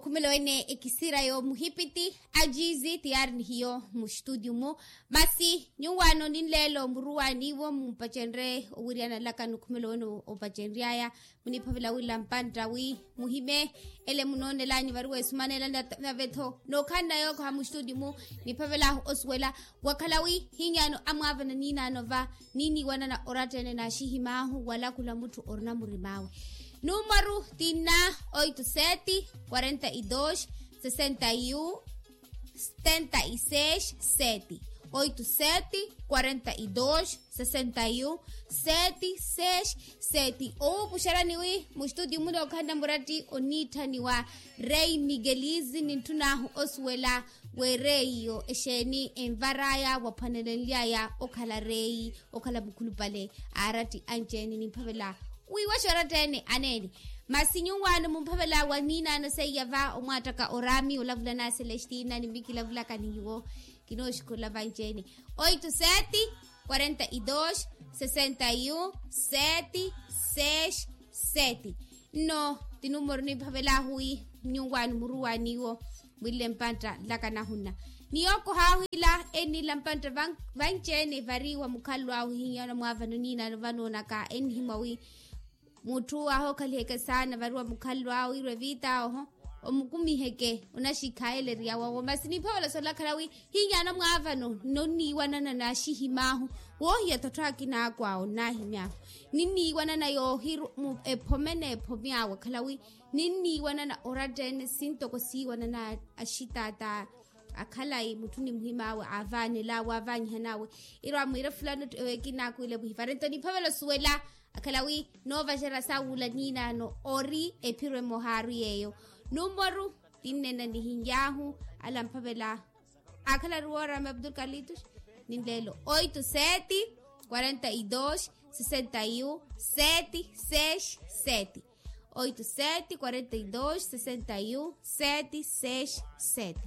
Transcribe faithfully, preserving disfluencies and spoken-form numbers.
Khumelo wene ekisira yo muhipiti ajizi tiyari ni hiyo mu studio mu. Masi nyuwaano ninleelo muruwaaniwo mumpacenre owiriyana laka ni khumelo wene opacenryaya. Muniphavela wila mpantta wi muhime ele munoonelani vari wesumanela navetho nookhanna yookoha mu studio mu. Niphavela osuwela wakhala wi hinyano amwaavana ninaano va niniiwanana oratta ene naaxihimaahu wala khula mutthu orina murimawe. Numaru ti nna oito sete quarenta e dos sessenta e um setenta e seis sete. Oito sete quarenta e dos sessenta e um setenta e seis sete. Owuupuxerani wi mustudio muna okhanna muratti oniitthaniwa rei miguelizi nintthunaahu osuwela weereiyo exeeni envar'aya waphwanelenly'aya okhala reyi okhala mukhulupale. Aaratti anci-ene nimphavela wiiwaxa oratta ene aneene. Masi nyuwaano mumphavela wa niinaano seiya va omwaattaka oraami olavula na celestina ni mikilavulaka ni nyuwo. Kinooxukhula vanci-ene oito sete quarenta e dos sessenta e um sete seis sete. Nno ti numoro nimphavel'ahu wi nyuwaano muruwaaniwo mwinle mpantta nlaka nahunna. Ni yookoh'ahu ila ennila mpantta vanci-ene vari wa mukhallo ahu hinyana mwaavano niinaano vanoonaka ennihimwa wi mutthu ahookhaliha eke saana vari wa mukhallo ahu wirwa evita oho omukumiheke onaxikhaayeleriya wawo masi nimphavela solakhala wi hinyana mwaavano nonniiwanana naaxihim'ahu woohiya ttottho akina akwawo nnaahimy'ahu ninniiwanana yoohiru ephome n'ephomi awe akhala wi ninniiwanana oratta ene sintoko siiwanana axitaata akhalayi mutthu ni muhim'awe aavaanel'awe aavaanyihan'awe. Irwa mwiira fulani ewe kinaakwiile muhivare nto niphavela osuwela akhala wi noovaxerya sawula niinaano ori ephiro emoha ari yeeyo. Numaru ti nnena nihinyahu ala mphavela akhala ari woorama abdul kalitus ninleelo oito sete quarenta e dos sessenta e um sete seis sete. Oito sete quarenta e dos sessenta e um sete seis sete.